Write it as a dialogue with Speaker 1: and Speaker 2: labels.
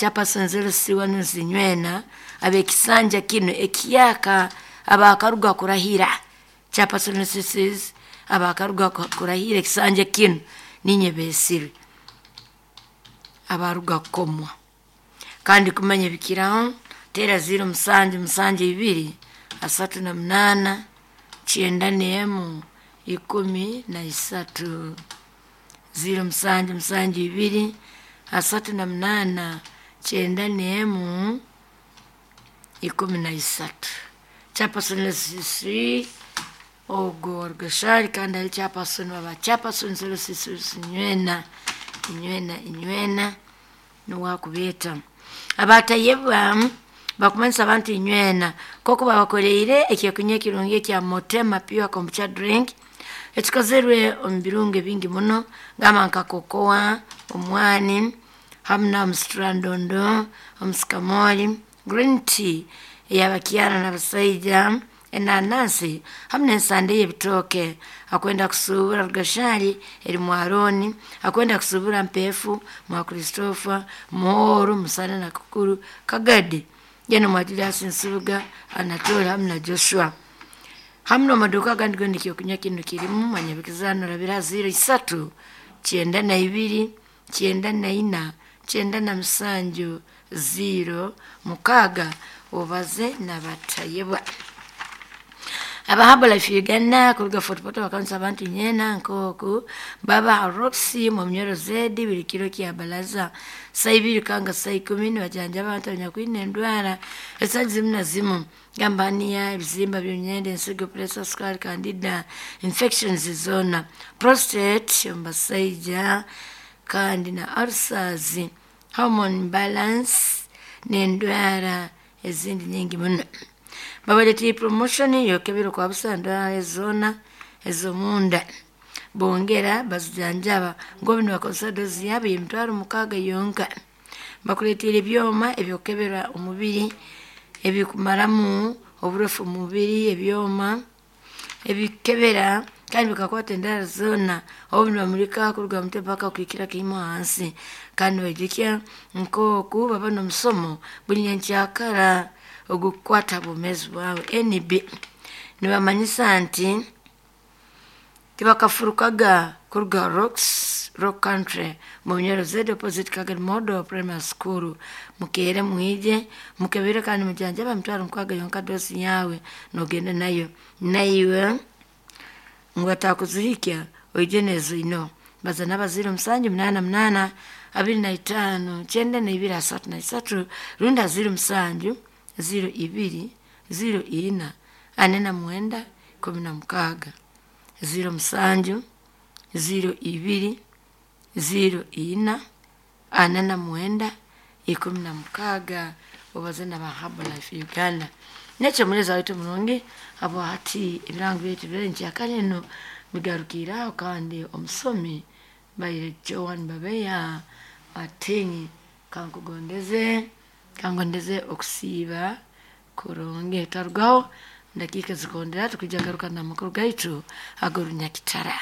Speaker 1: Chairperson 0C1 zinywena abekisanja kinu ekiyaka abakaruga kurahira. Chairperson CCs abakaruga kurahira ekisanja kinu ninye besirwe abaruga kukomwa. Kandi kumanya bikiraho tera 0 7 7 2 38 91 13 0 7 7 2 38 91 13. Chairperson CC ogo Rugashari kandi ali chairperson waba chairperson 06 nywena inywena inywena nuwakubeta abatayebwa bakumanyisa abantu inywena koko babakoreire ekyokunywa ekirungi ekya Motema Pure Kombucha Drink ekikozerwe omu birungo ebingi muno, gamba nka kokoa, omwani hamu na omusitrandondo, omusikamoli, green tea eyabakyara n'abasaija, enanasi hamu n'ensande y'ebitooke. Akwenda kusuubura Rugashari eri Mwaroni, akwenda kusuubura Mpefu, mwa Christopher, Muhoro, Musana na Kukuru, Kagadi, yena mwa Julius Nsubuga, Anatole hamu na Joshua. Hamu n'amaduuka agandi gona ekyokunywa kinu kirimu. Mwanyabikizano rabira 0 3 92 94 97 0 6 obaze nabatayebwa. Abahaba Life Uganda kuruga Fort Portal bakanisa abantu nyena nkoku baba Roxy mu mnyoro zedi buli kiro kya balaza saa ibiri kanga saa ikumi nibajanja abantu abanyakwine endwara ezitali zimu na zimu, gamba niya ebizimba by'emyenda, ensigo, pressure, sukari, candida infections zona, prostate omu basaija, kandi na ulcers, hormone imbalance n'endwara ezindi nyingi muno. Babaletire promotion yokebera kwa busa endwara zona ez'omunda, bongera bazijanjaba ngobu nibakozesa dozi yabo y'emitwaro 6 yonka. Bakuleetera ebyoma ebyokukebera omubiri ebikumaramu oburofu omu mubiri, ebyoma ebikebera kandi bikakwata endwara zoona obu nibamulika kuruga ha mutwe paka kuhikira kimu hansi. Kandi nibaijukya nk'oku baba n'omusomo buli nyenkyakara ogukukwata ha bwomeezi bwawe. NB nibamanyisa nti tibakafurukaga kuruga Rocks Rock Country mu Bunyoro Z opposite Kagadi Model Primary School. Mukeere mwije mukebere kandi mujanjaba emitwaro 6 yonka dosi yawe nogenda nayo, naiwe ngu atakuzihikya oije nezoino. Baza naba 0 7 8 8 25 92 33 runda 0 7 0 2 0 4 49 16 0 7 0 2 0 4 49 16 obaze na ba Herbalife Uganda. Nekyo muleza waitu murungi abo hati ebirango byaitu byerenkyakare eno bigarukiraho, kandi omusomi baire Joan Babeya Atingi kankugondeze kangondeze okusiiba kurungi. Twarugaho dakiika zikondera tukwijja garuka n'amakuru gaitu ag'orunyakitara.